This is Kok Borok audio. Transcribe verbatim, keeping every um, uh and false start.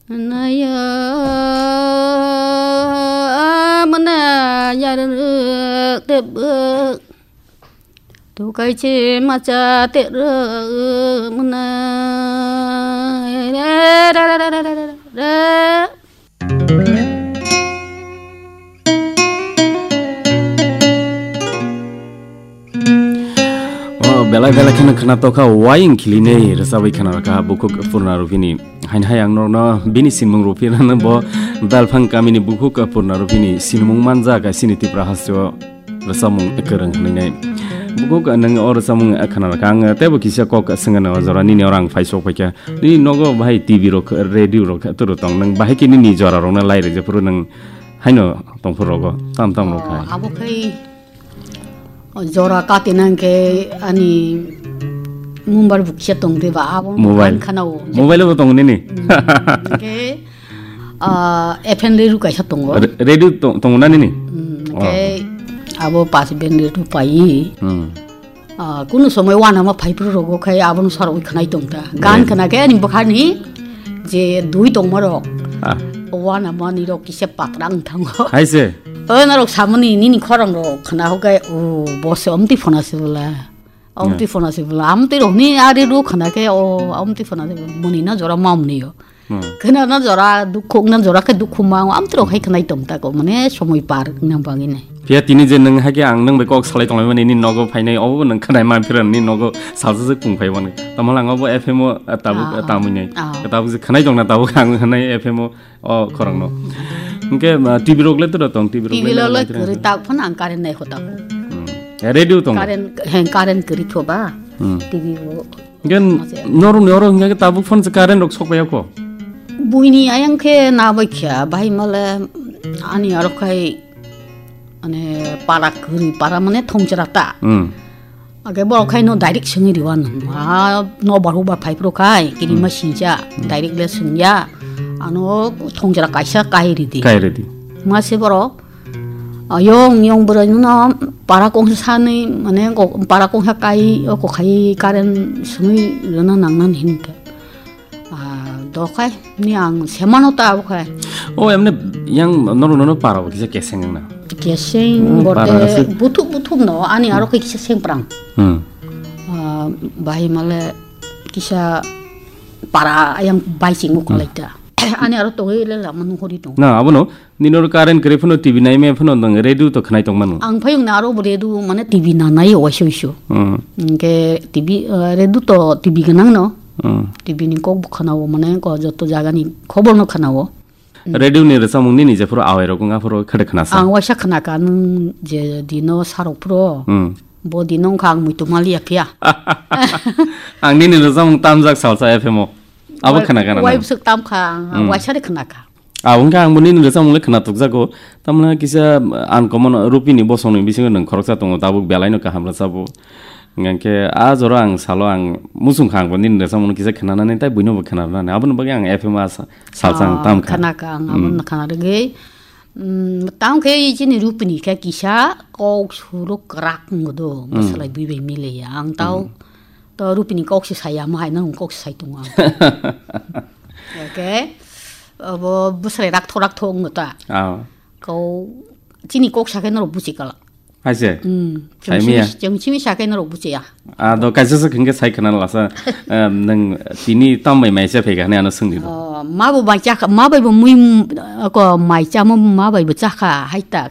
Naya amna yarwk tebwk. Tukai che macha terwk mna. Re, re, re. O belai belai kheno khna tokha, waying khilinei rwchabwi khna rwkha bukhuk Purna Rupini. Hain hai ang norokno bini sinmung ruphinano bo Belphang kamini bukhuk Purna Rupini sinmung manjak sini Tipra hasteo rwchabmung kwrwng hwnwi nai. Bukhuk nwng o rwchabmung khna rwkha, ang teibo kisa kok swngano o jora nini oro ang phai sok phaikha. Nini nogo bahai T V rok, radio rok toro tong, nwng bahai khe nini jora rokno lai rwjak phuru nwng haino tongphuru rogo tam tam rok hai. Abo khai o jora kati nang khe ani mumbar bukse tong de ba abo Mobile. Khana o. Mobile bo tong nini. Ke a F M le rukai sa tongo. Re- Radio tong tong na nini? Hmm, Oh. Ke abo pas ben le rupai. Hmm. Ah, kunu somoi wana ma phai phuru rogo khai abono sarwi khnai tong ta. Gan khna khe ani bwkhani je dui tongma rok. Ah. Wana mani rok kisa patra wng thango. Hai se. O norok samani nini khorang rok khna ho kai o bo se omti phona se bwla. Omti phona se bwla. Amti rok ni ari ru khna khe o omti phona se bwla. Muni na jora mamni yo. Hmm. Khna na jora dukhu na jora khe dukhu ma o amti rok hai khnai tong ta ko mane somoi par na bangine. Phiya tini je nwng hai khe ang nwng bai kok salai tonglaimani nini nogo phainai obo nwng khnai man phira nini nogo salsa se kung phai bani. Tamo lang obo F M o, ah, tabuk, ah, ah, tamui nai. Ah. Tabuk je khnai tong na tabuk ang khnai F M o, o khorang no. Hwnkhe, ah, T V rok le toro tong, T V rok T V le lo le nai tong. Kwrwi tak phano ang current nai hota. Hmm. Eh, radio tong. Current, heng, current kwrwi tho ba. Hmm. T V bo. Gen Masa. Norok ni oro hingke tabuk phone se current rok sok paiya ko. Buini ayang khe na bai kha, bai male ani aro khai ane para kwrwi, para mane thongchara ta. Hmm. Age borok khai no direct sengwi riwan. Ah, no baru ba phai pro khai, kini Hmm. ma sinja, Hmm. direct le sengya. Ano thongchara kaisa kai ridi. Kai ridi. Ma se borok Ayong yong bwrwi no para kongsa sanwi mane para kongsa kai o kokhai current swnwi rwna nangna hinka. Ah, dokhai ni ang semano ta abokhai. O emne yang norok nono para bo kisa keseng na. Keseng Hmm, borte para ase. Buthuk buthuk no ani aro kisa sengprang. Hmm. Ah, bahai male kisa para ayang bai singmo Hmm. Kalaita. Ani aro tongwi le lama nuhuri tong. Na abono Nini oro current kwrwi phano T V naimaya phano nwng radio to khwnai tongmano. Ang phayung na aro bo radio mane T V nanai waisa waisa. Hmm. Hwnkhe T V, eh, radio to T V gwnang no. Hmm. T V ni kok bo khwnao mane ko joto jaga ni khobor no khwnao. Hmm. Radio ni rwchapmung nini jephuru awai rok wngya phuru khede khwnasa. Ang waisa khwnakha nwng je dino sarok phuru. Hmm. Bo dino wngkha ang muitu maliya phiya. Ang nini rwchapmung tamjak salsa F M o. Abo khwnakha na. Wai bwswk tamkha ang Hmm. Waisa de khwnakha. Abo wngkha ang bo nini rwchapmung le khwna tukjago. Tamni kisa, uh, uncommon Rupini bosongni bisingo nwng khoroksa tongo, tabuk belaino kaham rwchapbo. Hwnkhe a jora ang salo ang muchungkha ang bo nini rwchapmung kisa khwnanani tei buino bo khwnanani. Aboni bagwi ang F M a sa-, salsa ang Ah, tamkha. Khwnakha ang Hmm. Abono khwna rwgwi. Hmm, tamkhe chini Rupini khe kisa kok suruk kwrak wngdo, Hmm. Bwsalai bui bai miliya. Ang tau Hmm. To Rupini kok se saya, mo hai nang kok se sai tongo ang. Okay. Abo bwsrai rak thok rak thok wngno ta. Ah. Kau chini kok sakhe norok buchi kala. Hai se? Hmm. Sai miya? Chwng simi sakhe norok buchi ya. Ah, do kaisa se khenge sai khana lasa. Em, nang tini tam bai mai se phega ne ano sungdi do. Oh, ma bo mai cha, ma bai bo mui, ko mai cha mo ma bai bo cha kha, hai ta.